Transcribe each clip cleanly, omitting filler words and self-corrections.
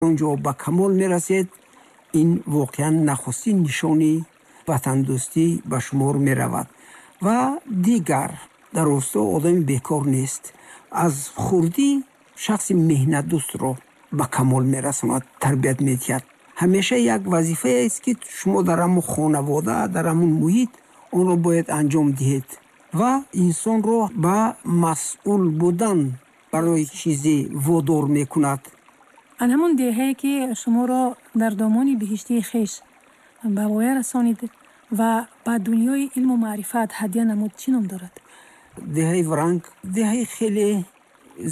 Он ҷо ба камол мерасед, ин воқеан нахустин нишони ватандӯстӣ ба шумор меравад. Ва дигар дар рӯсто одами бекор нест. Аз хурдӣ шахси меҳнатдӯстро ба камол мерасонад, тарбият медиҳад. Ҳамеша як вазифаест, ки шумо дар ҳамон хонавода, дар ҳамон муҳит онро бояд анҷом диҳед ва инсонро ба масъул будан барои чизе водор мекунад. Ан ҳамон деҳае, ки шуморо дар домони биҳиштии хеш ба воя расонид ва ба дунёи илму маърифат ҳадя намуд, чӣ ном дорад? Деҳаи Варанг деҳаи хеле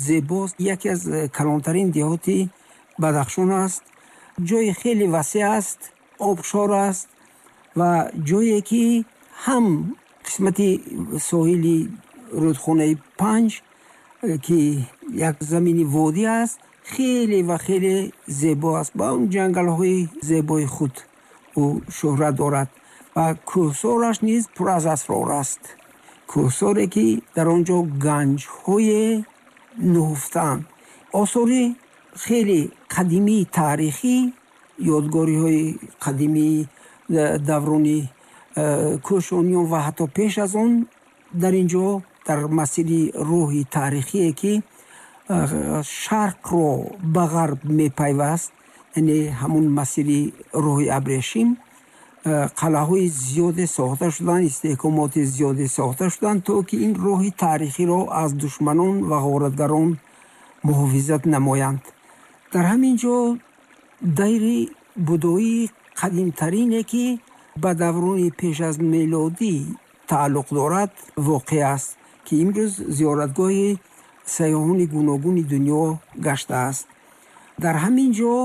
зебост, яке аз калонтарин деҳоти Бадахшон аст. Ҷои хеле васеъ аст, обшор аст ва ҷое ки ҳам қисмати соҳили рӯдхонаи Панҷ, ки як замини водӣ аст, хеле ва хеле зебо аст. Ба он ҷангалҳои зебои худ ӯ шӯҳрат дорад ва кӯҳсораш низ пур аз асрор аст. Кӯҳсоре, ки дар он ҷо ганҷҳое нуҳуфтаанд, осори хеле қадимии таърихӣ, ёдгориҳои қадимии даврони кӯшониён ва ҳатто пеш аз он дар ин ҷо дар масири роҳи таърихие, ки шарқро ба ғарб мепайваст, яъне ҳамун масири роҳи абрешим, қалъаҳои зиёде сохта шуданд, истеҳкомоти зиёде сохта шуданд, то ки ин роҳи таърихиро аз душманон ва ғоратгарон муҳофизат намоянд. Дар ҳамин ҷо дайри будоии қадимтарине, ки ба даврони пеш аз мелодӣ тааллуқ дорад, воқеъ аст, ки имрӯз зиёратгоҳи сайёҳони гуногуни дунё гаштааст. Дар ҳамин ҷо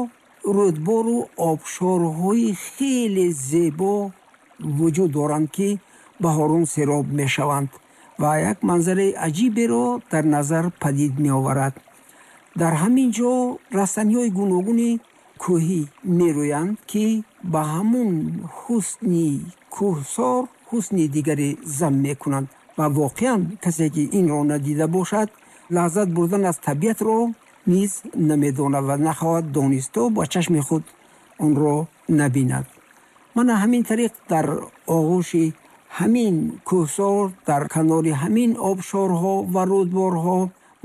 рӯдбору обшорҳои хеле зебо вуҷуд доранд, ки баҳорон сероб мешаванд ва як манзараи аҷиберо дар назар падид меоварад. Дар ҳамин ҷо растаниҳои гуногуни кӯҳӣ мерӯянд, ки ба ҳамун ҳусни кӯҳсор ҳусни дигаре зам мекунанд ва воқеан касе, ки инро надида бошад, лаззат бурдан аз табиатро низ намедонад ва нахоҳад донист, то ба чашми худ онро набинад. Мана ҳамин тариқ дар оғӯши ҳамин кӯҳсор, дар канори ҳамин обшорҳо ва рӯдборҳо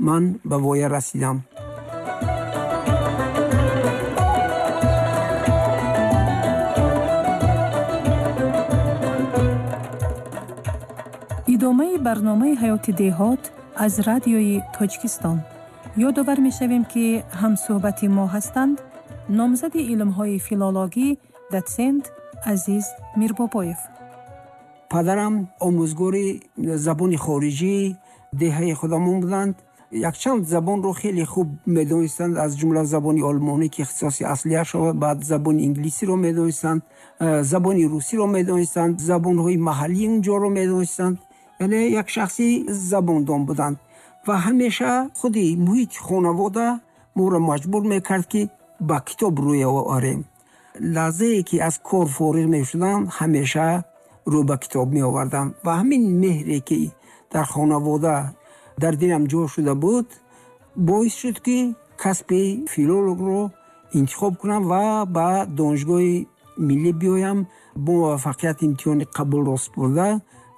ман ба воя расидам. Идомаи барномаи ҳаёти деҳот аз радиои Тоҷикистон. Ёдовар мешавем, ки ҳамсӯҳбати мо ҳастанд номзади илмҳои филологӣ, дотсент Азиз Мирбобоев. Падарам омӯзгори забони хориҷии деҳаи худамон буданд. Якчанд забонро хеле хуб медонистанд, аз ҷумла забони олмонӣ, ки ихтисоси аслияш, баъд забони инглисиро медонистанд, забони русиро медонистанд, забонҳои маҳаллии унҷоро медонистанд. Яъне як шахси забондон буданд ва ҳамеша худи муҳити хонавода моро маҷбур мекард, ки ба китоб рӯй оварем. Лаҳзае ки аз кор фориғ мешудам, ҳамеша рӯ ба китоб меовардам ва ҳамин меҳре, ки дар хонавода дар дилам ҷо шуда буд, боис шуд, ки касби филологро интихоб кунам ва ба Донишгоҳи миллӣ биёям. Бо муваффақият имтиҳони қабулро супурда,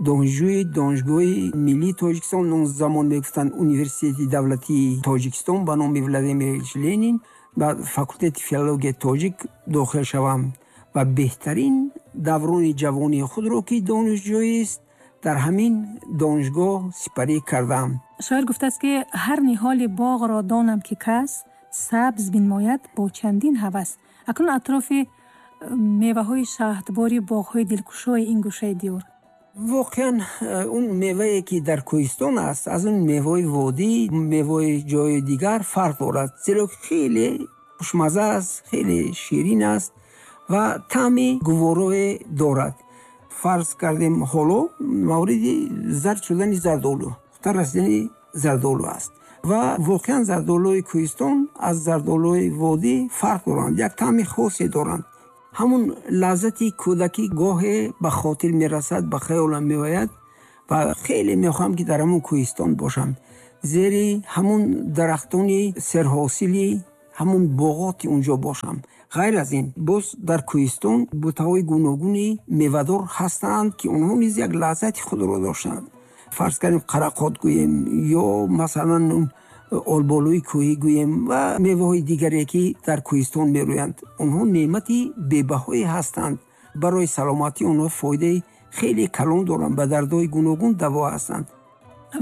донишҷӯи Донишгоҳи миллии Тоҷикистон, он замон мегуфтанд Университети давлатии Тоҷикистон ба номи Владимир Ильич Ленин, ба факултети филологияи тоҷик дохил шавам ва беҳтарин даврони ҷавонии худро, ки донишҷӯист, дар ҳамин донишгоҳ сипарӣ кардам. Шоир гуфтааст, ки ҳар ниҳоли боғро донам, ки кас сабз бинмояд бо чандин ҳавас. Акнун атрофи меваҳои шаҳдбори боғҳои дилкушои ин гӯшаи диёр. Воқеан он мевае, ки дар кӯҳистон аст, аз он меваҳои водӣ, меваҳои ҷои дигар фарқ дорад, зеро хеле хушмаза аст, хеле ширин аст ва таъми гуворое дорад. Фарз кардем, ҳоло мавриди зард шудани зардолу, хубтар расидани зардолу аст ва воқеан зардолуи кӯҳистон аз зардолуи водӣ фарқ доранд, як таъми хосе доранд. Ҳамун лаззати кӯдакӣ гоҳе ба хотир мерасад, ба хаёлам меояд ва хеле мехоҳам, ки дар ҳамун кӯҳистон бошам, зери ҳамун дарахтони серҳосили Ҳамон боғоти унҷо бошам. Ғайр аз ин, боз дар кӯҳистон бутаҳои гуногуни мевадор ҳастанд, ки онҳо низ як лаззати худро доштанд. Фарз кардем, қарақот гӯем ё масалан олболуи кӯҳӣ гӯем ва меваҳои дигаре, ки дар кӯҳистон мерӯянд. Онҳо неъмати бебаҳое ҳастанд. Барои саломатӣ онҳо фоидаи хеле калон доранд, ба дардҳои гуногун даво ҳастанд.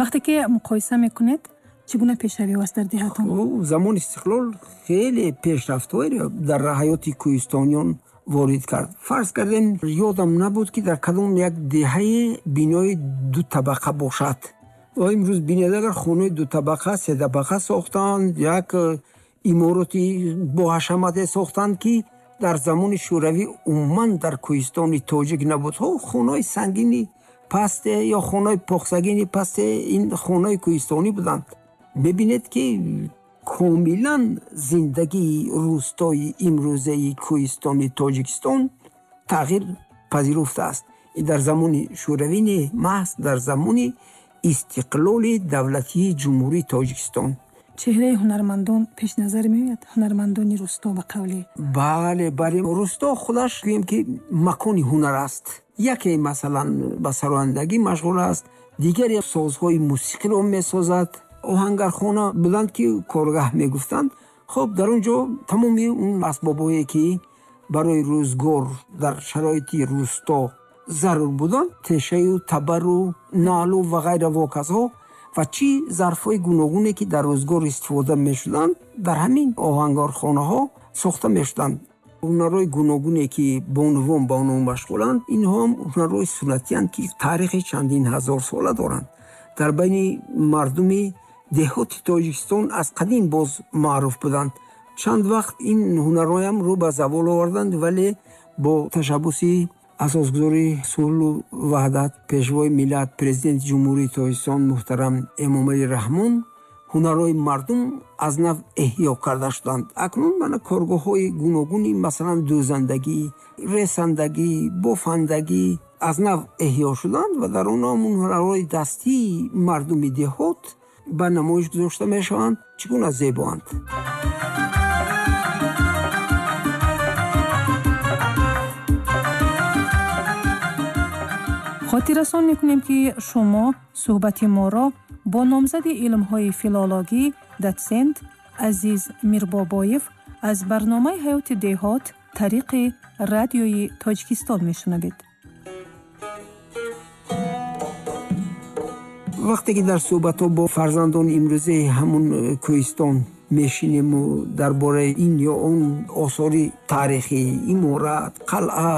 Вақте ки муқоиса мекунед, чӣ гуна пешравиҳо аст дар деҳатон? Замони истиқлол хеле пешрафтҳоеро дар ҳаёти кӯҳистониён ворид кард. Фарз кардем, ёдам набуд, ки дар кадом як деҳае бинои дутабақа бошад. Ва имрӯз бинед, агар хонаи дутабақа, сетабақа сохтанд, як имороти боҳашамате сохтанд, ки дар замони Шӯравӣ умуман дар кӯҳистони тоҷик набуд. Хонаҳои сангини пасте ё хонаҳои похсагини пасте, ин хонаҳои кӯҳистонӣ буданд. Мебинед, ки комилан зиндагии рӯстои имрӯзаи кӯҳистони Тоҷикистон тағйир пазируфтааст. Ин дар замони Шӯравӣ не, маҳз дар замони истиқлоли давлатии Ҷумҳурии Тоҷикистон. Чеҳраи ҳунармандон пеш назар меояд? Ҳунармандони рӯсто ба қавле? Бале, бале, рӯсто худаш гӯем, ки макони ҳунар аст. Яке масалан ба сарояндагӣ машғул аст, дигаре созҳои мусиқиро месозад. Оҳангархона буданд, ки коргаҳ мегуфтанд. Дар он ҷо тамоми он асбобҳое, ки барои рӯзгор дар шароити рӯсто зарур буданд, тешаю табару налу ва ғайра воказҳо ва чӣ зарфҳои гуногуне, ки дар рӯзгор истифода мешуданд, дар ҳамин оҳангархонаҳо сохта мешуданд. Ҳунарҳои гуногуне, ки бонувон ба онҳо машғуланд, инҳо ҳам ҳунарҳои суннатиянд, ки таърихи чандин ҳазорсола доранд. Дар байни мардуми деҳоти Тоҷикистон аз қадим боз маъруф буданд. Чанд вақт ин ҳунарҳоям рӯ ба завол оварданд, вале бо ташаббуси асосгузори сулҳу ваҳдат, пешвои миллат, президенти Ҷумҳурии Тоҷикистон муҳтарам Эмомалӣ Раҳмон ҳунарҳои мардум аз нав эҳё карда шуданд. Акнун мана коргоҳҳои гуногуни, масалан дӯзандагӣ, ресандагӣ, бофандагӣ аз нав эҳё шуданд ва дар онҳо ҳунарҳои дастии мардуми деҳот ба намоиш гузошта мешаванд. Чӣ гуна зебоанд! Хотиррасон мекунем, ки шумо суҳбати моро бо номзади илмҳои филологӣ, дотсент Азиз Мирбобоев аз барномаи ҳаёти деҳот тариқи радиои Тоҷикистон мешунавед. Вақте ки дар суҳбатҳо бо фарзандони имрӯзаи ҳамун кӯҳистон мешинему дар бораи ин ё он осори таърихӣ, иморат, қалъа,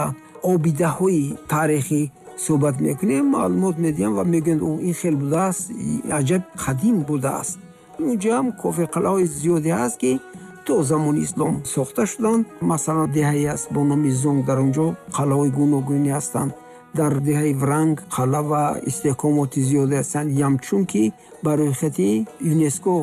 обидаҳои таърихӣ суҳбат мекунем, маълумот медиҳам ва мегӯянд, ин хел будааст, аҷаб қадим будааст. Унҷо ҳам кофирқалъаҳои зиёде ҳаст, ки то замони ислом сохта шуданд. Масалан, деҳае аст бо номи Зонг, дар унҷо қалъаҳои гуногунӣ ҳастанд. Дар деҳаи Вранг қалъа ва истиҳкомоти зиёде ҳастанд, ямчун ки ба рӯйхати ЮНЕСКО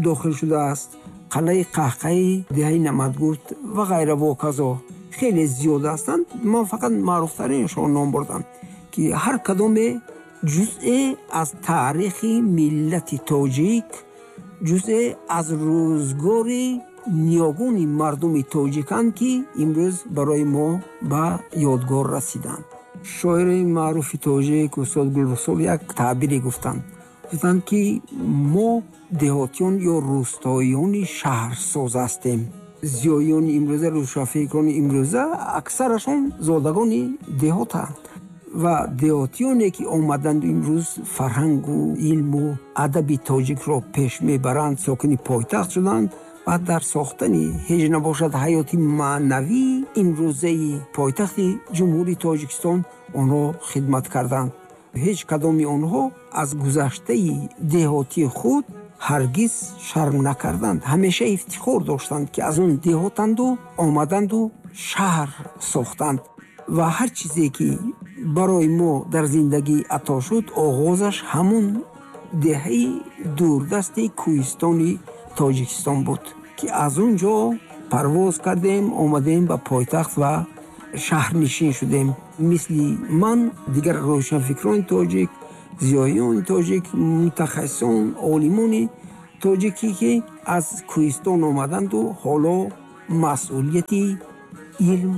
дохил шудааст. Қалъаи Қаҳқаи, деҳаи Намадгурд ва ғайра воказо хеле зиёд ҳастанд. Ман фақат маъруфтаринашон ном бурдам, ки ҳар кадоме ҷузъе аз таърихи миллати тоҷик, ҷузъе аз рӯзгори ниёгони мардуми тоҷиканд, ки имрӯз барои мо ба ёдгор расиданд. Шоири маъруфи тоҷик устод Гулрухсор як таъбире гуфтанд. Гуфтанд, ки мо деҳотиён ё рӯстоиёни шаҳрсоз ҳастем. Зиёиёни имрӯза, рӯшанфикрони имрӯза аксарашон зодагони деҳотанд ва деҳотиёне, ки омаданд имрӯз фарҳангу илму адаби тоҷикро пеш мебаранд, сокини пойтахт шуданд ва дар сохтани ҳеҷ набошад ҳаёти маънавии имрӯзаи пойтахти Ҷумҳурии Тоҷикистон онҳо хидмат карданд. Ҳеҷ кадоми онҳо аз гузаштаи деҳотии худ ҳаргиз шарм накарданд. Ҳамеша ифтихор доштанд, ки аз он деҳотанду омаданду шаҳр сохтанд. Ва ҳар чизе, ки барои мо дар зиндагӣ ато шуд, оғозаш ҳамон деҳаи дурдасти кӯҳистони Тоҷикистон буд, ки аз он ҷо парвоз кардем, омадем ба пойтахт ва шаҳрнишин шудем. Мисли ман дигар рӯшанфикрони тоҷик, зиёиёни тоҷик, мутахассисон, олимони Тоҷикӣ, ки аз кӯҳистон омаданду ҳоло масъулияти илм,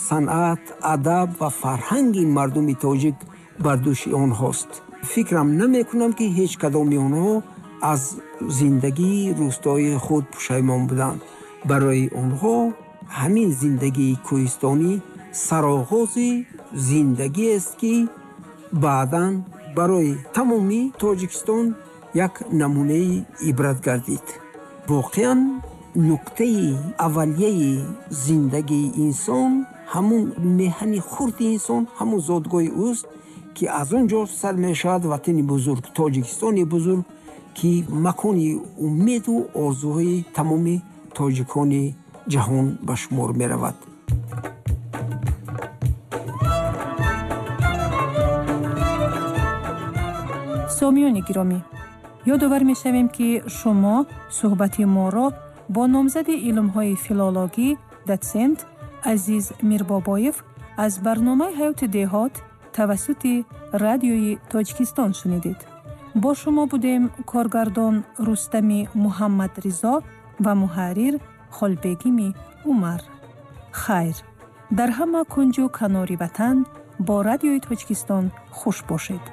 санъат, адаб ва фарҳанги мардуми тоҷик бар дӯши онҳост. Фикрам намекунам, ки ҳеҷ кадоми онҳо аз зиндагии рӯстоии худ пушаймон буданд. Барои онҳо ҳамин зиндагии кӯҳистонӣ сароғози зиндагиест, ки баъдан барои тамоми Тоҷикистон як намунаи ибрат гардид. Воқеан, нуқтаи аввалияи зиндагии инсон, ҳамун меҳани хурди инсон, ҳамун зодгоҳи ӯст, ки аз он ҷо сар мешавад ватани бузург, Тоҷикистони бузург, ки макони умеду орзуҳои тамоми тоҷикони ҷаҳон ба шумор меравад. Сомиёни гиромӣ, ёдовар мешавем, ки шумо суҳбати моро бо номзади илмҳои филологӣ, дотсент Азиз Мирбобоев аз барномаи «Ҳаёти деҳот» тавассути Радиои Тоҷикистон шунидед. Бо шумо будем коргардон Рустами Муҳаммадризо ва муҳаррир Холбегими Умар. Хайр, дар ҳама кунҷу канори ватан бо Радиои Тоҷикистон хуш бошед.